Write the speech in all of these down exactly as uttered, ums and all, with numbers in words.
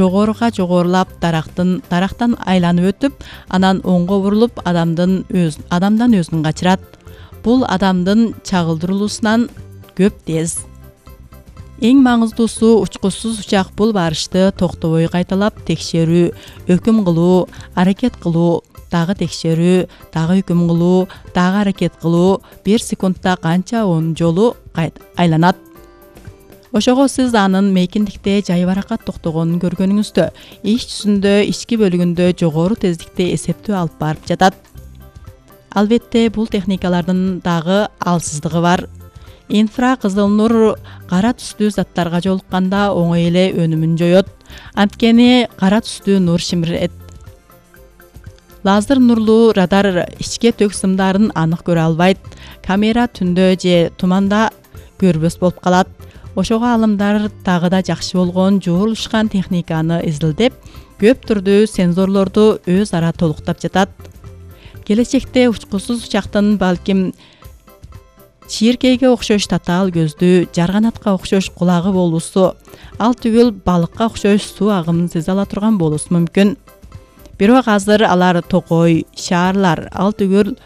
жогоруга жогорулап дарактын дарактан айланып өтүп, анан оңго бурулуп адамдын өз адамдан өзүн качырат. Бул адамдын чагылдырылуусунан көп тез. Эң маңыздуусу учкучсуз учак бул барышты токтобой кайталап текшерүү, өкүм кылуу, аракет кылуу, дагы текшерүү, дагы өкүм кылуу, дагы аракет кылуу, бир секундта канча он жолу айланат. Ошого сиз анын мейкиндикте жайбаракат токтогонун көргөнүңүздө, ич жүзүндө ички бөлүгүндө жогору тездикте эсептөө алып барып жатат. Албетте, бул техникалардын дагы алсыздыгы бар. Инфра кызыл нур кара түстүү заттарга жолукканда оңой эле өнүмүн жоет. Анткени кара түстүү нур шимирет. Лазер нурлуу радар ичке тök сымдарын анык көрө албайт. Камера түндө же туманда көрбөс болуп калат. Ошого алымдар дагы да жакшы болгон жуурулушкан техниканы изилдеп, көп түрдүү сензорлорду өз ара толуктап жатат. Келечекте учкусуз учактын балким чийиркейге окшош татаал көздүү, жарганатка окшош кулагы болуусу, ал түгүл балыкка окшош суу агымын сезе ала турган болуусу мүмкүн. Бирок азыр алар токой, шаарлар, ал түгүл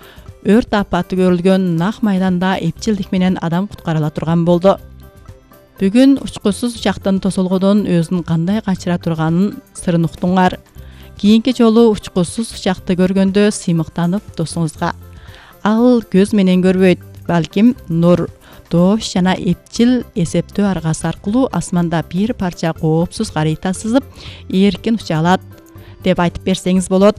өрт апаты көрүлгөн нак майданда эпчилдик менен адам куткара ала турган болду. Бүгүн учкусуз учактын тосолгодон өзүн кандай качыра турганын сырын уктуңар. Кийинки жолу учкусуз учакты көргөндө сыймыктанып досуңузга. Ал көз менен көрбөйт, балким нур, доош жана эпчил эсептөө аргасы аркылуу асманда бир парча коопсуз карыйта сызып, эркин уча алат деп айтып берсеңиз болот.